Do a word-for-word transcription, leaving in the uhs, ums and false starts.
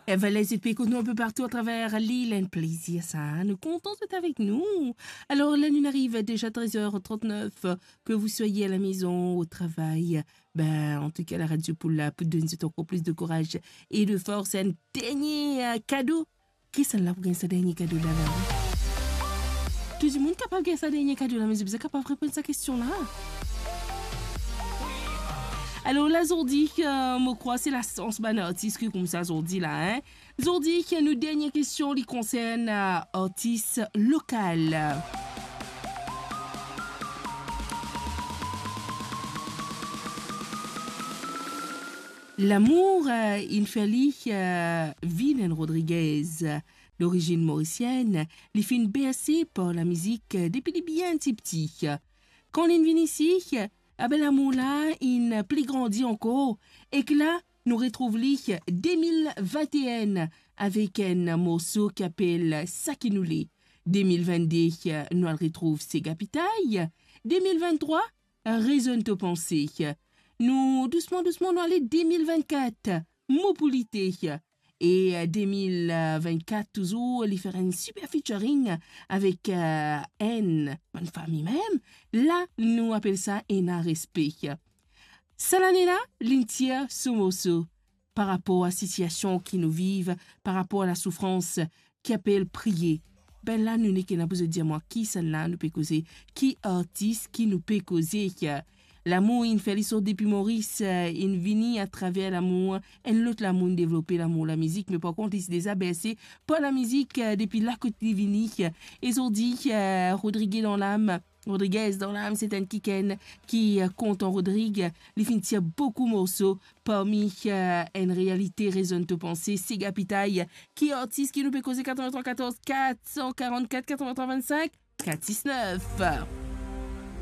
Eva, les épiques, nou inpe partou atraver lil, enn plezir sa, nou kontan zot avek nou. Alor, la nou ariv deza trez er trant-nef, que vous soyez à la maison, au travail, ben, antouka, la radio pou la, pou donn zot ankor plis de kouraz e de fors. Enn dernie, euh, kado. Kisannla pou gagn sa dernie kado la, la? Tou dimoun kapav gagn sa dernie kado la, me zot bizin kapav reponn sa kestion la. Alor la, zordi, euh, mo krwar se lasans bann artis ki koumsa zordi la, hein. Zordi, nou dernie kestion, li konsern, euh, artis lokal. Lamour, euh, inn fer li, euh, vinn enn Rodriguez. Lorizinn morisienn, li finn berse par lamizik, euh, depi li bien tipti. Kan linn vinn isi, abe lamour la inn pli grandi ankor, ek la, nou retrouv li de mil vinte-enn avek enn morso ki apel Sa ki nou le. De mil vennde, nou al retrouv Sega Pitay. De mil venntrwa, Rezonn to panse. Nou, dousman, dousman, nou ale de mil vennkat, Mo pou lite. E, euh, de mil vennkat, touzour, li fer enn super featuring avek, euh, enn bann fami mem. La, nou apel sa Ena Respe. Sa lane la, linn tir so morso par rapor a sitiasion ki nou viv, par rapor a lasoufrans ki apel Priye. Be la, nou nek ena pou zot dir mwa kisannla nou pe koze, ki artis ki nou pe koze. Lamour inn fer li sort depi Moris, euh, inn vini atraver lamour, enn lot lamour inn devlope, lamour lamizik, me par kont, li ti deza berse par lamizik, euh, depi la kot li vini. E zordi, euh, Rodriguez dan lam, Rodriguez dan lam, se enn kikenn ki, euh, kontan Rodrig. Li finn tir boukou morso, parmi, euh, Enn Realite, Rezonn to panse, Sega Pitay. Ki artis ki nou pe koze? Katreventrwa katorz, kat san karannkat, katreventrwa vennsink, kat sis nef.